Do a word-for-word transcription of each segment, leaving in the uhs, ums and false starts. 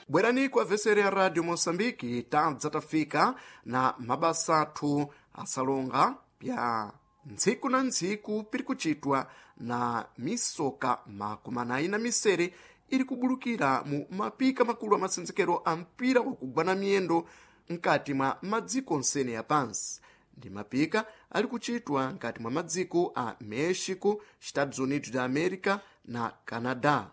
Bwerani kwa vesere ya Radio Moçambique, tadza tafika na mabasa athu asalonga pya ntsiku na ntsiku piri kuchitwa na misoka makumi anayi na misere iri kubulukira mu mapika makulu a masenzekero a mpira wakugwa na miyendo nkati mwa madziko onsene ya pansi. Ndi mapika ali kuchitwa nkati mwa madziko a México, Estados Unidos da América na Canadá.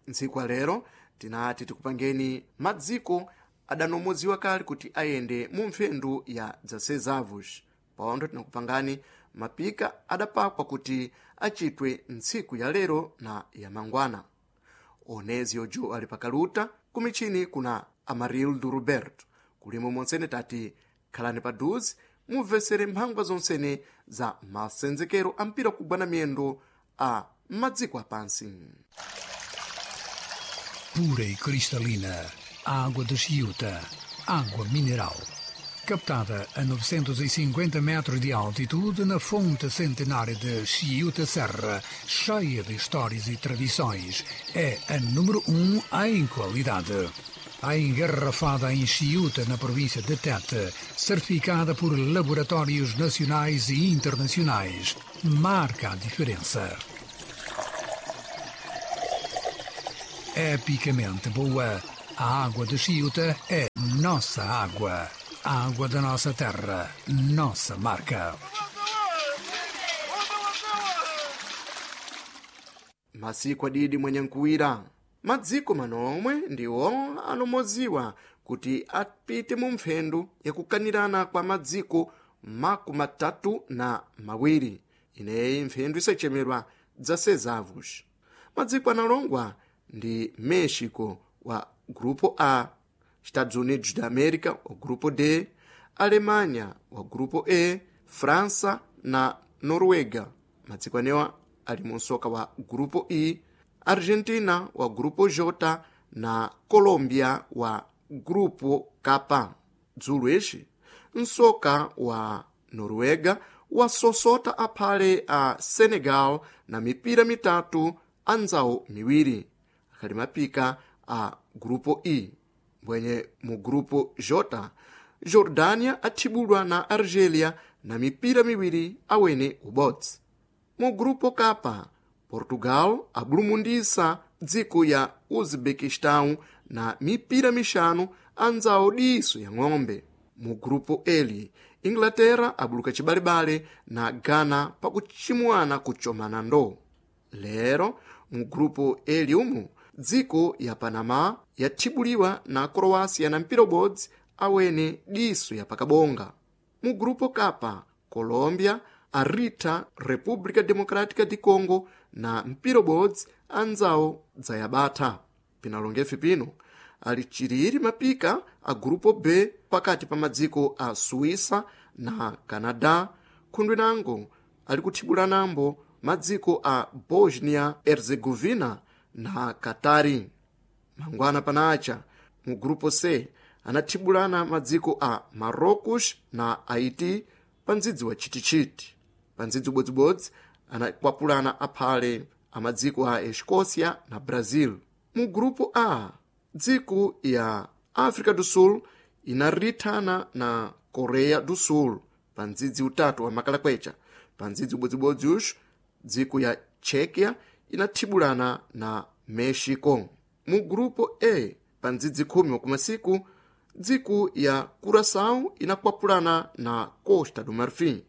Ntsiku lero tinati tikupangeni madziko adanomoziwa kale kuti ayende mu mphendu ya dzasezavos. Paondo tinakupangani mapika adapakwa kuti achitwe ntsiku ya lero na ya mangwana. Onezio jo ali pakaluta kumichini kuna Amarildo Roberto. Kulimo monsene tati khalani paduzi mumvesere mphangwa zonsene za masenzekero a mpira kugwa na miyendo a madziko apansi. Pura e cristalina, água de Chiuta, água mineral. Captada a novecentos e cinquenta metros de altitude na fonte centenária de Chiuta Serra, cheia de histórias e tradições, é a número um em qualidade. A engarrafada em Chiuta, na província de Tete, certificada por laboratórios nacionais e internacionais, marca a diferença. Epicamente boa, a água de Chiuta é nossa água. A água da nossa terra, nossa marca. Masiku adidi mwenye nkuwira. Madziko manomwe ndiwo anomoziwa kuti apite mu mphendu yakukanirana kwa madziko makumi atatu na mawiri. Ineyi mphendu isachemerwa dzasezavos. Madziko analongwa ndi México wa Grupo A, Estados Unidos da América wa Grupo D, Alemanha wa Grupo E, França na Noruega. Madziko anewa ali mu msoka wa Grupo I, Argentina wa Grupo J na Colômbia wa Grupo K. Dzulo ixi, msoka wa Noruega wasosota aphale a Senegal na mipira mitatu anzawo miwiri, akhali mapika a Grupo I. Mbwenye mu Grupo J, Jordânia athibulwa na Argélia na mipira miwiri awene ubodzi. Mu Grupo K, Portugal abulumundisa dziko ya Uzbequistão na mipira mixanu anzawo diso ya ng'ombe. Mu Grupo L, Inglaterra abuluka cibalebale na Ghana pakuchimwana kuchomana ndo. Lero mu Grupo L umu dziko ya Panama yathibuliwa na Croácia na mpira ubodzi awene diso ya pakabonga. Mu Grupo K, Colômbia arita República Democrática de Congo na mpira ubodzi anzawo dzayabatha. Pinalongefe pino ali chiriri mapika a Grupo B pakati pa madziko a Suíça na Canadá, khundwinango ali kuthibulanambo madziko a Bosnia Herzegovina na Katari. Mangwana panacha mu Grupo C anathibulana madziko a Marrocos na Haiti pa ndzidzi wa chitichiti. Pa ndzidzi ubodzibodzi anakwapulana aphale a madziko a Escócia na Brasil. Mu Grupo A, dziko ya África do Sul inarithana na Coreia do Sul pa ndzidzi utatu wa makalakwecha. Pa ndzidzi ubodzibodzi uxu dziko ya Tchequia inathibulana na México. Mu Grupo E, pa ndzidzi khumi wakumasiku, dziko ya Curaçao inakwapulana na Costa do Marfim.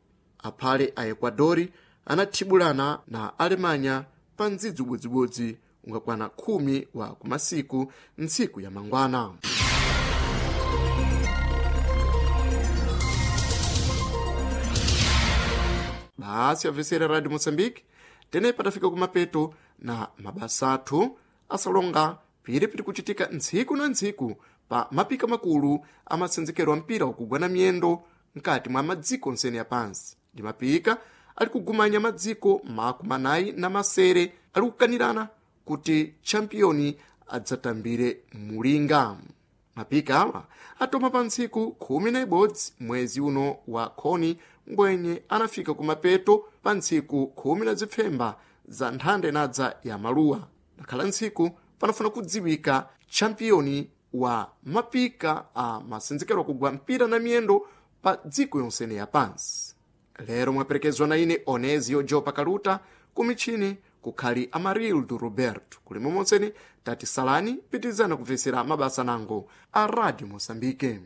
Aphale a Equadori anathibulana na Alemanha pa ndzidzi ubodzibodzi ungakwana khumi wa kumasiku ntsiku ya mangwana. Basi amvesera Radio Moçambique, tene patafika kumapeto na mabasa athu asalonga piripiri kuchitika ntsiku na ntsiku pa mapika makulu amasenzekero a mpira wakugwa na miyendo nkati mwa madziko onsene ya pansi. Ndi mapika ali kugumanya madziko makumi anayi na masere ali kukanirana kuti champiyoni adzatambire mulinga. Mapika awa atoma pa ntsiku khumi na ibodzi mwezi uno wa khoni mbwenye anafika kumapeto pa ntsiku khumi na zipfemba za nthanda inadza ya maluwa. Nakhala ntsiku panafuna kudziwika champiyoni wa mapika a masenzekero kugwa mpira na miyendo pa dziko yonsene ya pansi. Lero mwaperekezwa na ine Onezio Jopa Kaluta, kumichini kukhali Amarildo Roberto. Kuli momonseni tati salani, pitirizana kupvesera mabasa nango a Radio Moçambique.